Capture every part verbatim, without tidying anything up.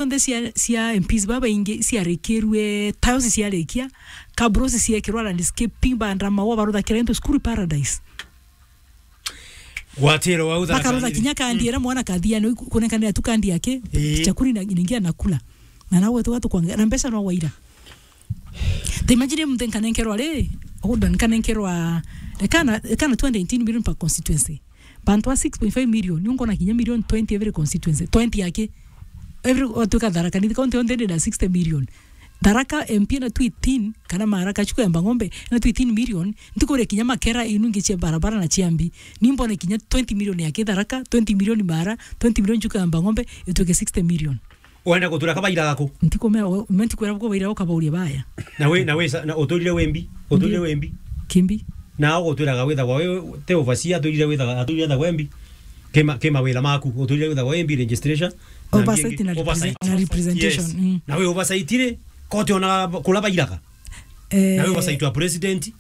cionthe cia, cia M Ps babaingi ciarikirue, tiles ciarikia, cabros ciekirwa landscaping, bandra maua, baruthakira into school paradise. Gwatiro wau Tharaka Bakarutha Nithi. Kinya kandi ira mwana kathiani, kunenkanira tu kandi yake, Ii. Chakuri na ningia nakula. Na nawe tu watu kwanga, na mbeca no waira. Ta imagine muntu nkanenkerwa ri, oguo nkanenkerwa, ekana, ekana two hundred eighteen million per constituency. Bantu a six point five million, ni ungona kinya million twenty every constituency. Twenty yake. Every, otuika Tharaka Nithi county yonthe ndina sixty million. Tharaka M P na two eighteen, kana Maara kachuko ya Mbang'ombe, na two eighteen million, ntikuria kinya makera inu ingi cia barabara na cia mbi. Ni mbone kinya twenty million yake Tharaka, twenty million Maara, twenty million chuko ya Mbang'ombe, ituike sixty million. Wenda gutura kabaira gaku? Ntikumea, o-, me ntikwira buko baira ukabauria baya. Na we, na we sa-, na uturire wembi, uturire Ndi- wembi. Kimbi. Na ugutwiraga withagwa we te overseer, aturire withaga, aturire withagwa wembi. Kima, kima wira maku, uturire withagwa wembi registration. Na Oversight mbingi, na oversight. Represent-, na representation, Yes. Mm. Na we oversight ri, koti ona kula bairaga. Eh, Na we oversight wa president. Eh,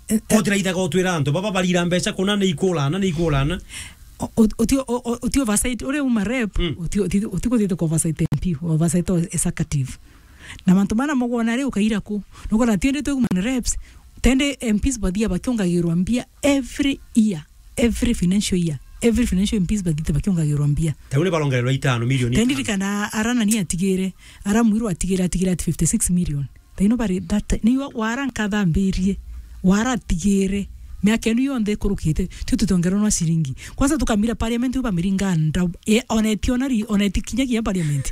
eh. Koti raithaga utwira antu baba barira mbeca kuna ni ikurana, ni ikurana. O-, o-, uti, o-, o-, uti oversight, uria uma rep, Mm. uti, uti, uti kuthithia ku oversight M P, oversight o executive. Na mantu mana mugwona ri ukaira ku? Nugona tiende twe human reps, tende M Ps bathia bakiongagirwa mbia every year, every financial year, every financial M Ps bathite bakiongagirwa mbia. Tau ni barongererwa itano milioni Tende itano. Rikana ara nani atigire, ara Mwiru atigire, atigire at fifty six million. Thaino bari that ti-, ni wa-, wara nkathambirie, wara atigire, miaka inu yonthe ikurukite, tio tutongerwa no ciringi. Kwanza tukamira parliament, u bamiringa nda, e, oneti ona ri-, oneti kinya kinya parliament.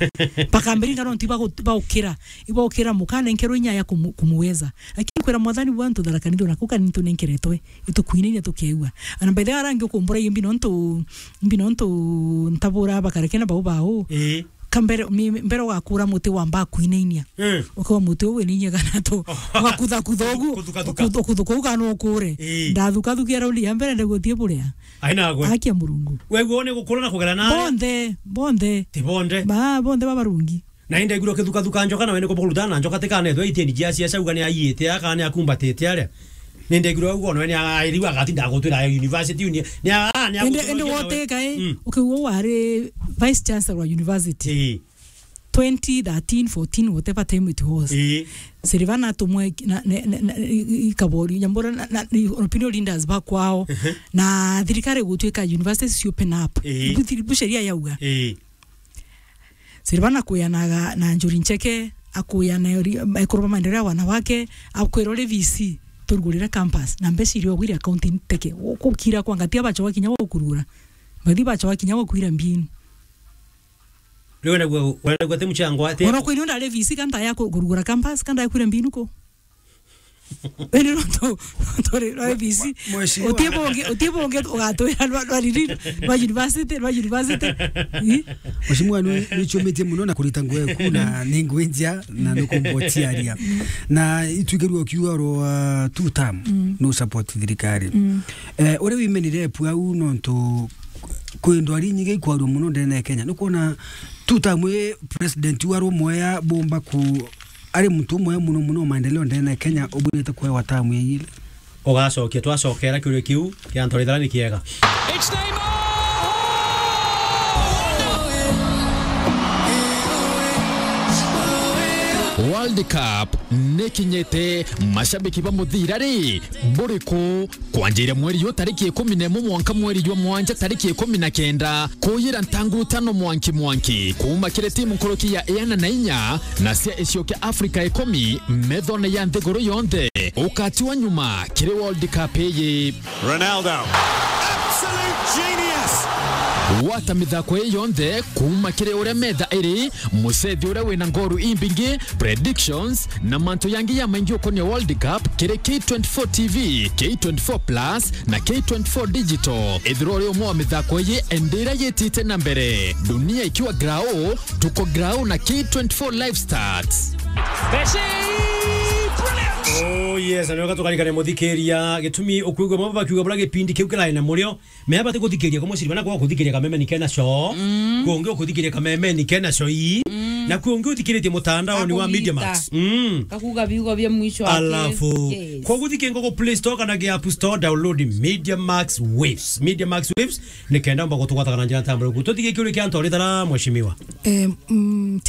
Bakamiringa no nti bagu-, baukira, ibaukira mukana nkero inya ya kumu-, kumuweza. Lakini kwira mwathani bwa ntu Tharaka Nithi na kuka nintu nenkeretwe, itukuinainia tukeua. Ana by the way, arangi ukumbura imbi nontu, imbi nontu ntabura bakareke na bau bau. Ii. Kambere, mi-, mbere ugakura muti wamba kuinainia. Mm. Ukiwa muti uyu winainia kana tu. Ugakutha kutha ugu. Kuthuka thuka. Ukuthu-, ukuthuka uga no ukure. Ii. Ndathukathukia raundi ya mbere ndiguthie buria. Aina gwe. Akia Murungu. We guo ni gukura na kugera na. Bonthe, bonthe. Ti bonthe. Ba, bonthe babarungi. Na inde iguru kithukathuka njoka na we ni kuburuta na njoka tikana ethwe iteni jia cia cauga ni aiite aka ni akumbatite aria. Ni ndegirwe uguo, no ni airiwa agatinda agutwira university uni-, ni a-, ni Ende, agutwira ende ugienda we. Woteka, eh, Mm. Ukiuga wari vice chancellor wa university. Ii. Twenty thirteen, fourteen, whatever time it was. Ii. Silvana atumwe na, na, na, na, i-, i-, ikabori, nyambura na, na, i-, opinion leaders ba kwao. Ehe. Na thirikari gutwika universities open up. Ii. Bu thiri-, bu sheria yauga. Ii. Silvana akuyanaga na Njuri Ncheke, akuyana ri-, ekuru ba maendeleo ya wanawake, akwira uri V C, turugurire campus, na mbeca iria ugwire akaunti nteke, ukukira kwa ngati abachoa kinya gukurura. Bathi bachoa kinya gukwira mbinu. Riu wenda gwa-, wenda gwate mchango ate. Ona kwini ndari V C kanda ya ku-, kurugura campus, kanda ya kwira mbinu ku. Indi nontu turi rwa A B C. Mwe-, mheshimiwa. Utie bungi, utie bungi ugatwira rwa, rwa riri, rwa university, rwa university. Ii? Mheshimiwa, ni, ni chumitie muno na kurita nguo yaku na ni nguo njia na ni kumbotiaria. Na itwikirwe ukiuga ro, uh, two term, Mm. no support thirikari. Mm. Eh, uria wimenire epu au nontu kwi ndwari nyingi ikwarua muno ndene ya Kenya. Ni kuona two term i president wa rumwe ya bomba ku ari muntu umwe muno muno maendeleo ndene ya Kenya ubwirite kuewa tamu ya ile. Ugacokia, twacokera kiuria kiu kia Anthony Thara ni kiega. It's Neymar! World Cup nikinyite, mashabiki ba muthira ri, buriku? Kwanjira mweri yu tariki ikumi na imwe mwanka mweri jwa mwanja tariki ikumi na kenda, kuyira ntangurutano mwanki mwanki kuuma kiri timu nkuruki ya iana na inya na cia icio kia Africa ikumi methone ya nthiguru yonthe. Ukatiwa nyuma kiri World Cup iyi. Ronaldo. Absolute genius. Gwata mithako ii yonthe kuuma kiri uria metha iri, mucethi uria wina ngoru imbingi, predictions, na mantu yangi ya maingi ukonia World Cup kiri K twenty-four T V, K twenty-four Plus na K twenty-four Digital. Ithirwa uri umwe wa mithako iyi, indi iria yitite na mbere. Dunia ikiwa grao, tuko grao na K twenty-four Live Stats. Messi! Brilliant! Oh yes, na nioka tukarikane muthikiria, gitumi ukwigua mambo bakiuga bura gipindi kiu kirai na murio. Mea bati kuthikiria kumwe siri bana kwa kuthikiria kameme ni kena show. Mm. Kungi ukuthikiria kameme ni kena show ii. Mm. Na kuo ungi uthikiritie mutandaoni wa Media Max. Mm. Kakuga biugo bia mwisho wake. Alafu, yes, kwa guthike ngogo Play Store kana ge App Store, download Media Max Waves. Media Max Waves, ni kenda mba gutugwataga na njira ntambure. Tuthike kiuri kia ntori thara, mheshimiwa. Eh, mm, take